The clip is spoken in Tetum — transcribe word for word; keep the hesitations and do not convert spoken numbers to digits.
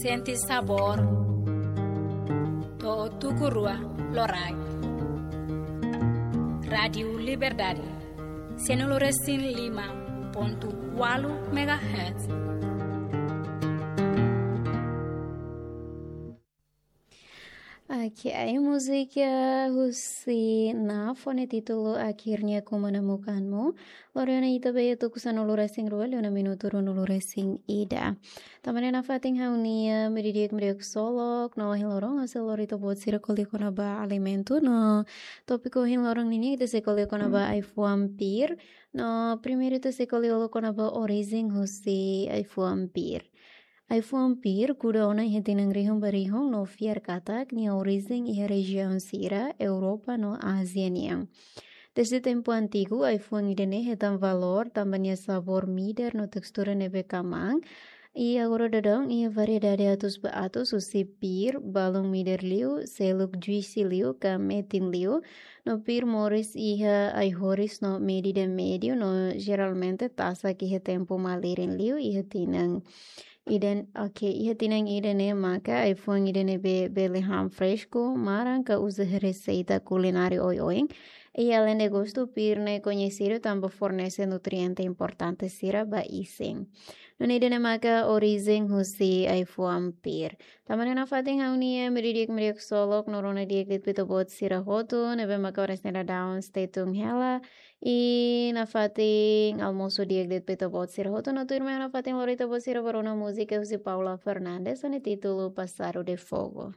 Sente sabór. To'o tuku rua loraik. Rádiu Liberdade. Sianulu-resin-lima pontu ualu megahertz. Oke, ai múzika husi Naf ho nia títulu Akhirnya Ku Menemukanmu. Lori ona ita ba iha tuku sanulu-resin-rua, liu ona minutu ruanulu-resin-ida. Tanba ne'e nafatin ha'u-nia meiudia di'ak, meiudia ksolok, no ohin loron ha'u sei lori ita-boot sira ko'alia kona-ba alimentu, no tópiku ohin loron ninian ita sei ko'alia kona-ba ai-fuan pir, no primeiru ita sei ko'alia kona-ba orijen husi ai-fuan pir. Ai-fuan pir kuda ona iha tinan rihun ba rihun no fiar katak nia orijen iha rejiaun sira Europa no Ázia nian. Desde tempu antigu, ai-fuan ida-ne'e hetan valór tanba nia sabór midar no testura ne'ebé kmaan. I agora daudaun iha variedade atus ba atus, husi pir balun midar liu, seluk juisi liu ka metin liu, no pir moris iha ai-horis no medida médiu, no jeralmente tasak iha tempu malirin liu, iha tinan ida-ne'e, oke, iha tinan ida-ne'e maka ai-fuan ida-ne'ebé bele han fresku, maran ka uza iha reseita kulináriu oioin. I aleinde gostu, pir ne'e koñesidu tanba fornese nutriente importante sira ba isin. Nune'e ida-ne'e maka orijen husi ai-fuan pir. Tanba ne'e nafatin ha'u-nia meiudia di'ak, meiudia ksolok, no rona di'ak de'it ba ita-boot sira hotu ne'ebé maka oras ne'e daudaun stay tune hela. I nafatin almosu di'ak de'it ba ita-boot sira hotu, no tuirmai nafatin lori ita-boot sira ba rona múzika husi Paula Fernandes, ho nia títulu Passado de Fogo.